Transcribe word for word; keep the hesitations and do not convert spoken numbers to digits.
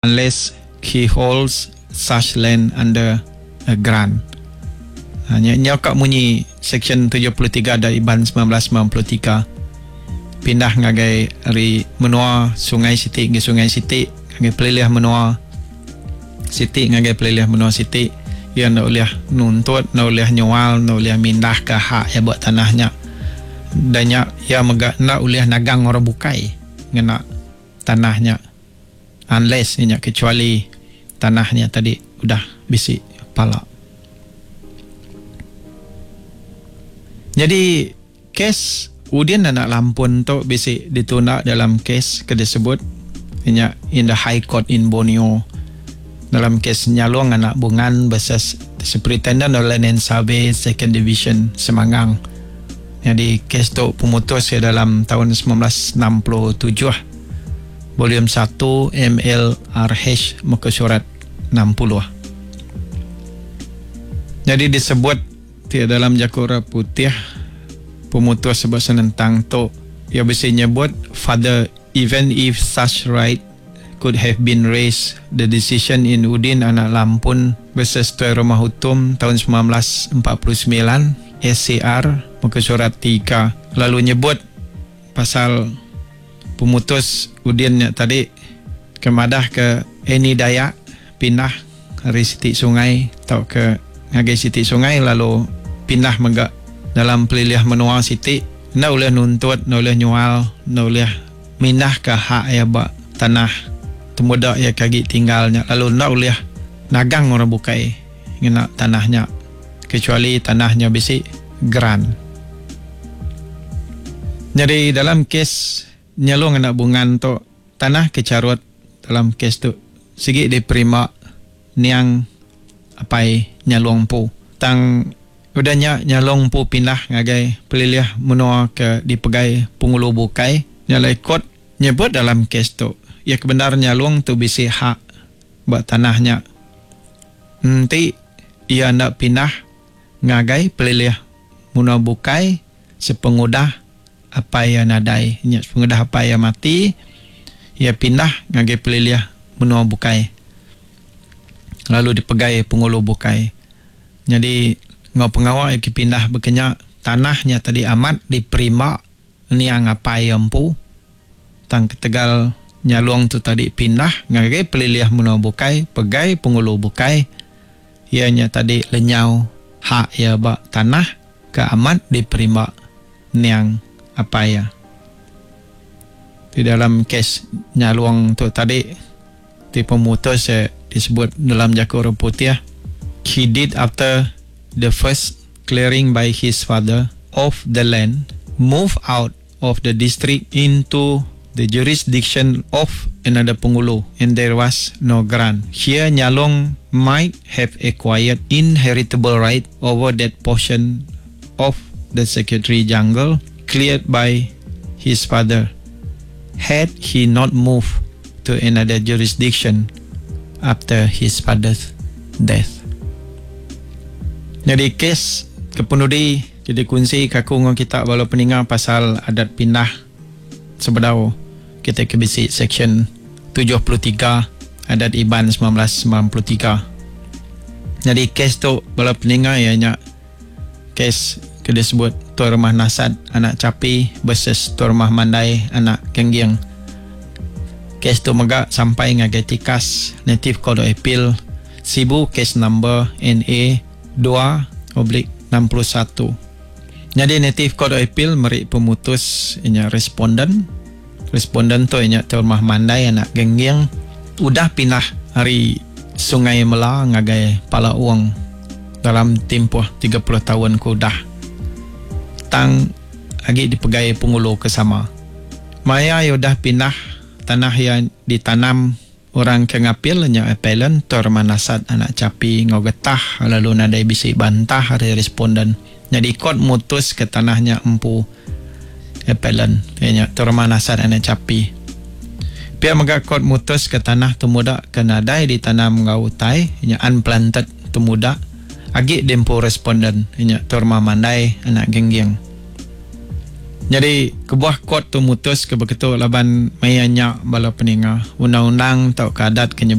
Unless he holds such land under a grant. Ha, nya nya ka munyi section tujuh puluh tiga Adat Iban semilan belas semilan puluh tiga. Pindah ngagai ari menua Sungai Siti ngagai Sungai Siti, ngagai pelilih menua Siti ngagai pelilih menua Siti, ia enda ulih nuntut, enda ulih nyual, enda ulih mindah ke hak ia ba tanah nya. Dan nya ia mega enda ulih nagang orang bukai ngena tanah nya, unless nya kecuali tanah nya tadi udah bisi pala. Jadi kes Udin anak Lampun tu bisi ditunda dalam kes ke disebut nya in the High Court in Borneo dalam kes Nyalong anak Bungan versus the Superintendent of Land and Survey Second Division Semangang. Jadi kes tu pemutus ya dalam tahun seribu sembilan ratus enam puluh tujuh, volume satu M L R H muka surat enam puluh. Jadi disebut ti dalam Jakura Putih pemutus sebab senentang tu ia bisi nyebut father even if such right could have been raised, the decision in Udin anak Lampun versus Tuai Rumah Hutum tahun seribu sembilan ratus empat puluh sembilan S C R muka surat tiga lalu nyebut pasal pemutus Udin nya tadi kemadah ke Eni Dayak pindah dari siti sungai atau ke ngagai siti sungai lalu pindah mega dalam pelilih menua siti nda boleh nuntut, nda boleh nyual, nda boleh mindah ke hak ya ba tanah temuda ya kagi tinggalnya lalu nda boleh nagang orang bukai ngena tanahnya kecuali tanahnya bisi geran. Jadi dalam kes Nyalong anak Bungan tu tanah kecarut dalam kes tu sigi diterima niang apai Nyalong pu. Tang udah nya Nyalong pu pindah ngagai pelilih menua ke dipegai pengulu bukai. Nyalai kot nyebut dalam kes tu ia kebenar Nyalong tu bisi hak ba tanahnya. Enti ia ndak pindah ngagai pelilih menua bukai sepengudah apai ia nadai. Nya sepengudah apai ia mati, ia pindah ngagai pelilih menua bukai lalu dipegai pengulu bukai. Jadi ngau pengawa ia pindah berkenya tanahnya tadi amat diperima niang apai ia empu. Tang ketegal Nyalong tu tadi pindah ngagai pelilih menua bukai, pegai pengulu bukai, ia nya tadi lenyau hak ia ba tanah ke amat diperima niang apai ia. Di dalam kes Nyalong tu tadi ti pemutus ya disebut dalam jaku orang putih, he did after the first clearing by his father of the land, move out of the district into the jurisdiction of another pengulu, and there was no grant. Here Nyalong might have acquired inheritable right over that portion of the secretary jungle cleared by his father, had he not moved to another jurisdiction after his father's death. Jadi kes kepenudi jadi kunci kaku ngau kita walau peninga pasal adat pindah sebedau kita ke bisi section tujuh puluh tiga Adat Iban seribu sembilan ratus sembilan puluh tiga. Jadi kes tu bala peninga ianya kes ke disebut Tuan Rumah Nasat anak Capi versus Tuan Rumah Mandai anak Kengging. Kes tu mega sampai ngagai tikas Native Court of Appeal Sibu, kes number N A dua oblik enam puluh satu. Jadi Native Court of Appeal meri pemutus ianya responden. Responden tu ianya Tuan Rumah Mandai anak Gengging udah pindah hari Sungai Mela ngagai Pala Uang dalam tempoh tiga puluh tahun ke udah. Tang agi dipegai pengulu ke sama. Maya ia udah pindah tanah yang ditanam orang ke ngapil nya appellant Tuan Rumah Nasat anak Capi ngau getah lalu nadai bisi bantah hari responden. Jadi kot mutus ke tanahnya empu appellant nya Tuan Rumah Nasat anak Capi. Pia mega kot mutus ke tanah temuda ke nadai ditanam ngau utai nya unplanted temuda agi dempu responden nya Tuan Rumah Mandai anak Gengging. Jadi kebuah court tu mutus ke begitu laban maya nya bala peninga undang-undang tau ke adat ke